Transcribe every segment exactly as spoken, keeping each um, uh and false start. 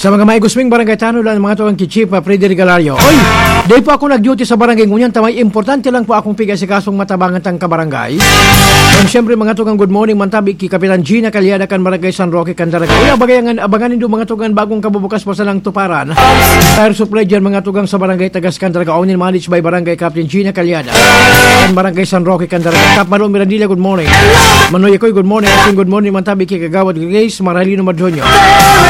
Sa mga maigusming barangay tanod lang, mga tugang ki Chief, ah, Freddy Regalario. Oy, di po ako nag-duty sa barangay ngunyan, ta may importante lang po akong pigasikasong matabangan tang kabarangay. And syempre, mga tugang, good morning, mantabi ki Kapitan Gina Calyada kan Barangay San Roque, Candaraga. Uy, abangan, abangan nindo, mga tugang, bagong kabubukas pa sa nang tuparan. Fire supply dyan, mga tugang, sa Barangay Tagas, Candaraga. Owner managed by Barangay Captain Gina Calyada. Kan Barangay San Roque, Candaraga. Kap Malo Mirandilla, good morning. Manoy Akoy, good morning. Asin, good morning, mantabi ki Kagawad Grace Marhalino Madronio.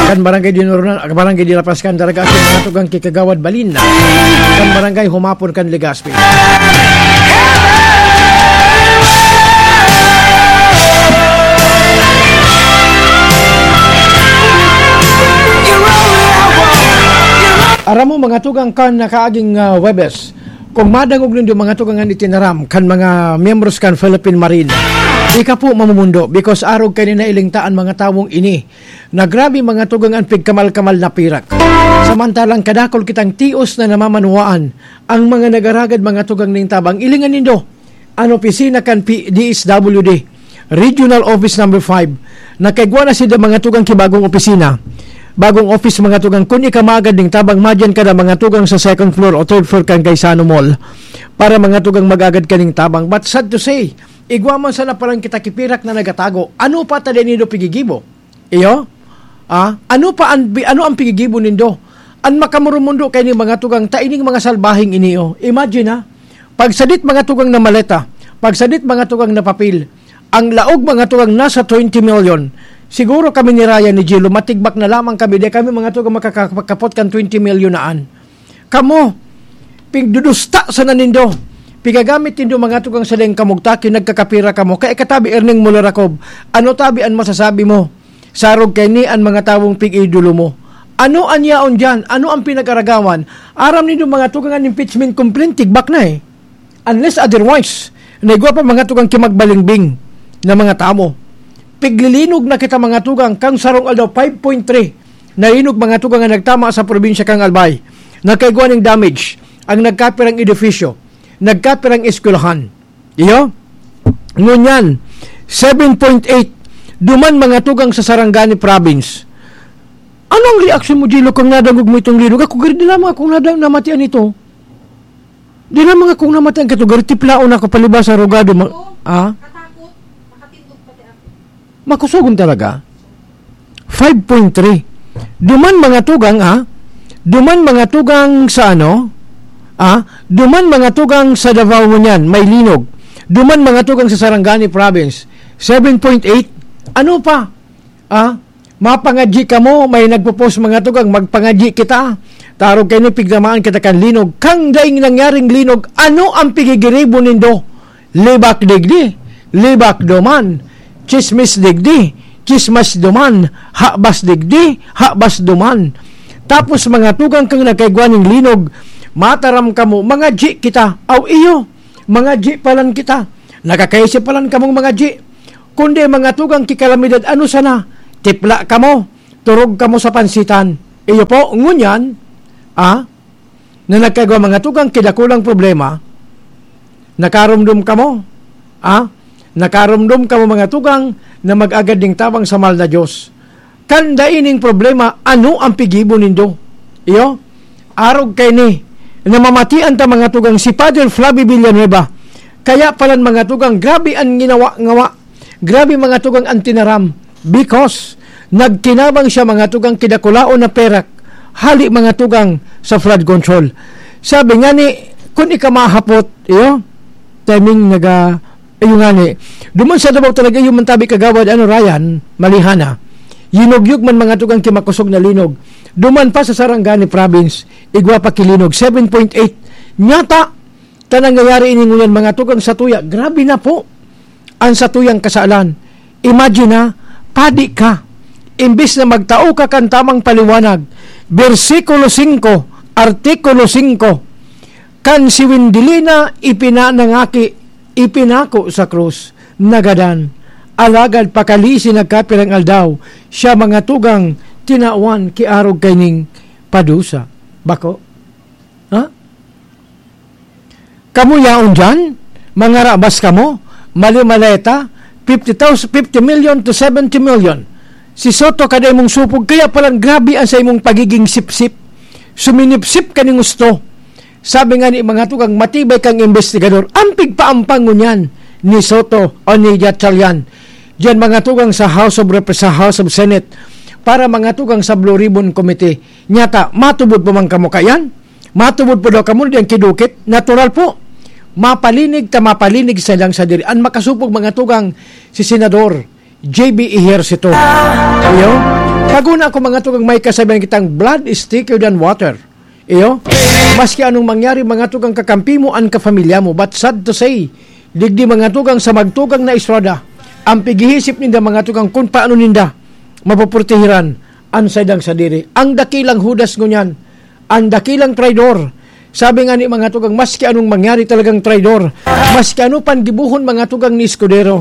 Kan Barangay Dinoronan, Barangay Dinapas, Candaraga. Asin, mga tugang ki Kagawad Balin. Kan Barangay Humapon, kan Legazpi. Aram mo, mga tugang, kan nakaaging, ah, Huwebes, kung madangog nindo, mga tugang, an itinaram kan mga miyembros kan Philippine Marine, ika po mamumundo, because arog kaini na ilingta an mga tawong ini na grabe, mga tugang, an pigkamal-kamal na pirak. Samantalang kadakul kitang tios na namamanwaan, ang mga nagaragad, mga tugang, ning tabang. Ilingan nindo an opisina kan P-, D S W D, Regional Office Number five. Nakaigwa na sinda, mga tugang, ki bagong opisina. Bagong office, mga tugang, kun ika magad ning tabang, madyan ka na, mga tugang, sa second floor o third floor kan Gaisano Mall. Para, mga tugang, magagad ka ning tabang. But sad to say, igwa man sana palan kita ki pirak na nagatago. Ano pa ta dai nindo pigigibo? Iyo? Ah, ano pa an, ano ang pigigibo nindo? An makamurumundo kaini, mga tugang, ta ining mga salbaheng ini, oh. Imagine, ha? Pagsadit, mga tugang, na maleta, pagsadit, mga tugang, na papel, ang laog, mga tugang, nasa twenty million. Siguro kami ni Ryan, ni Gilo, matigbak na lamang kami, di kami, mga tugang, makakapot kan twenty million na an. Kamo, pigdudusta sana nindo. Pigagamit nindo, mga tugang, sa daing kamugtakin, nagkakapira kamo. Kaya katabi, Erning Mularakob, ano tabi an masasabi mo? Sarog kaini an mga tawong pig-idolo mo. Ano an yaon diyan? Ano ang pinag-aragawan? Aram nindo, mga tugang, an impeachment complaint, tigbak na, eh. Unless otherwise, naigwa pa, mga tugang, ki magbalingbing na mga tawo. Piglilinog na kita, mga tugang, kan sarong aldaw, five point three na linog, mga tugang, an nagtama sa probinsya kan Albay. Nakaigwa ning damage, ang nagkapirang edifisyo, nagkapirang eskwelahan. Iyo? Ngunyan, seven point eight, duman, mga tugang, sa Sarangani Province. Ano ang reaksyon mo, Gilo, kung nadangog mo itong linog? Ako, gari, di lamang akong nada-, namatian ito. Di lamang akong namatian kato, gari, tiplaon ako palibasa, rugado, ma-, ah? Makusogon talaga? Five point three. Duman, mga tugang, ah? Duman, mga tugang, sa ano? Ah? Duman, mga tugang, sa Davao ngunyan, may linog. Duman, mga tugang, sa Sarangani Province, seven point eight. Ano pa? Ah? Mapangadyi kamo, may nagpo-post, mga tugang, magpangadyi kita. Tarog kaini, pigtamaan kita kan linog. Kan daing nangyaring linog, ano ang pigigiribo nindo? Libak digdi, libak duman. Tsismis digdi, tsismis duman. Habas digdi, habas duman. Tapos, mga tugang, kan nagkaigwa ning linog, mataram kamo, mangadyi kita. Aw, iyo, mangadyi palan kita. Nakakaisip palan kamong mangadyi. Kundi, mga tugang, ki kalamidad, ano sana? Tipla kamo, turog kamo sa pansitan. Iyo po, ngunyan, ah, na nagkaigwa, mga tugang, ki dakulang problema, nakarumdom kamo, ah? Nakarumdom kamo, mga tugang, na mag-agad ning tabang sa mahal na Diyos. Kan dai ning problema, ano ang pigibo nindo? Iyo? Arog kaini, namamatian ta, mga tugang, si Father Flavio Villanueva. Kaya palan, mga tugang, grabe an ginawa-ngawa. Grabe, mga tugang, an tinaram. Because nagkinabang siya, mga tugang, ki dakulaon na perak, hali, mga tugang, sa flood control. Sabi ngani, kun ika mahapot, iyo, timing naga, iyo ngani. Duman sa Davao talaga, iyo man tabi, Kagawad, ano, Ryan, Malihana. Yinugyog man, mga tugang, ki makosog na linog. Duman pa sa Sarangani Province, igwa pa ki linog, seven point eight. Nyata, ta nangyayari ini ngunyan, mga tugang, sa tuya. Grabe na po. An satuyang kasalan. Imagine, ha, padi ka. Imbis na magtao ka kan tamang paliwanag, bersikulo singko, artikulo singko, kan si Wendelina ipinanangaki, ipinako sa krus, nagadan. Alagad pakali si nagkapirang aldaw, siya, mga tugang, tinawan ki arog kaining padusa. Bako? Ha? Kamo yaon diyan, mangarabas kamo, mali-maleta, fifty thousand, fifty million to seventy million. Si Soto, kada imong supog, kaya palang grabe ang sa imong pagiging sipsip. Suminipsip ka ning gusto. Sabi nga ni mga tugang, matibay kang investigador. Ang pigpaampang ngunyan ni Soto o ni Gatchalian. Diyan mga tugang sa House of Rep-, sa House of Senate para mga tugang sa Blue Ribbon Committee. Nyata, matubod pa man kamo kayan? Matubod po daw kamo diyan kidukit? Natural po. Mapalinig ta mapalinig sa lang sa diri. Ang makasupog mga tugang si Senador J B Ejercito. Iyo? Paguna ako mga tugang may kasabihan kitang blood is thicker than water. Iyo? Maski anong mangyari mga tugang kakampi mo, ang kapamilya mo. But sad to say, digdi mga tugang sa magtugang na estrada, ang pighihisip ninda mga tugang kung paano ninda mapoprotehiran ang saydang sadiri. Ang dakilang hudas ngunyan, ang dakilang traidor. Sabi nga ni mga tugang, maski anong mangyari talagang traidor. Maski ano pan gibuhon mga tugang ni Escudero.